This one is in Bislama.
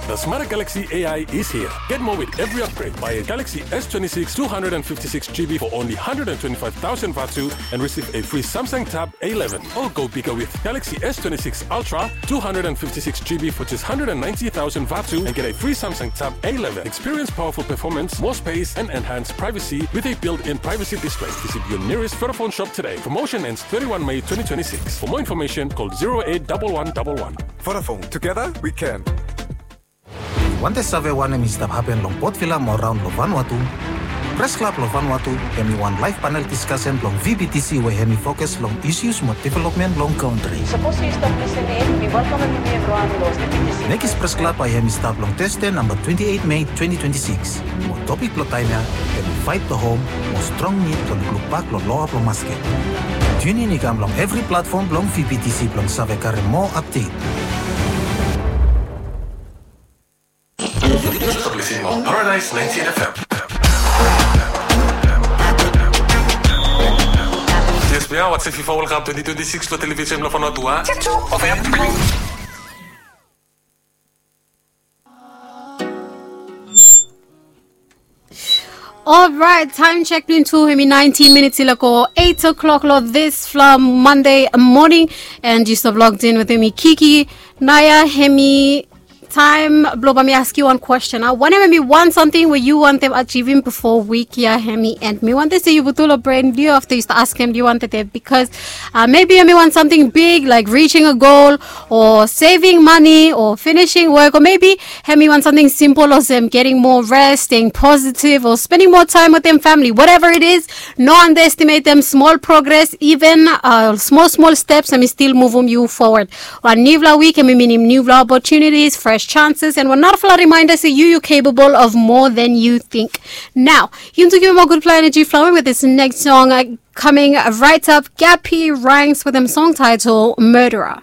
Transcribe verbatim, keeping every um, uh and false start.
The smarter Galaxy A I is here. Get more with every upgrade. Buy a Galaxy S twenty-six two hundred fifty-six G B for only hundred twenty-five thousand vatu and receive a free Samsung Tab A eleven. Or go bigger with Galaxy S twenty-six Ultra two hundred fifty-six G B for just hundred ninety thousand vatu and get a free Samsung Tab A eleven. Experience powerful performance, more space, and enhanced privacy with a built-in privacy display. Visit your nearest Vodafone shop today. Promotion ends thirty-one May twenty twenty-six. For more information, call zero eight double one double one. Vodafone, together we can. Yu wante save wanem i stap hapen long Port Vila mo raon long Vanuatu? Pres Klab long Vanuatu hemi wan live panel diskasen blong V B T C we hemi fokus long issues mo developmen blong kantri. Sapos yu stap lisening, mi welkamem yumi evriwan long V B T C. Nekis Pres Klab bae hemi stap long Tesde namba twenti eit Mei twenti twenti sikis. Mo topik blong taem ya hemi Fight the Home mo strong nid blong lukluk bak long loa blong masket. Tiunin i kam long evri platfom blong V B T C blong save karem moa apdet. Yu stap lisening long Paradise ninety-eight F M. Yes, we are watching FIFA World Cup twenty twenty-six long television blong Vanuatu. Alright, time check blong tu hemi nineteen minutes i laek go eight o'clock long this from Monday morning, and yu stap logged in with hemi Kiki Naya. Hemi time blong bae mi askem yu wan kwestin. Wanem hemi wan samting we yu wantem ajivim bifo wik ya hemi end? Mi wantem se yu putum long bren blong yu afta yu stap askem yu wantem, because uh, maybe hemi wan samting big like reaching a goal or saving money or finishing work, or maybe hemi wan samting simpol olsem getting more rest, staying positive, or spending more time with dem family. Whatever it is, no underestimate dem small progress, even uh, small small steps hemi still muvum yu forward. Wan niufala wik hemi minim niufala opportunities, fresh chances, and wan narafala reminder se yu yu capable of more than you think. Now, yu givim a gudfala energy flowing with this next song uh, coming right up. Gappy Ranks with dem song title Murderer.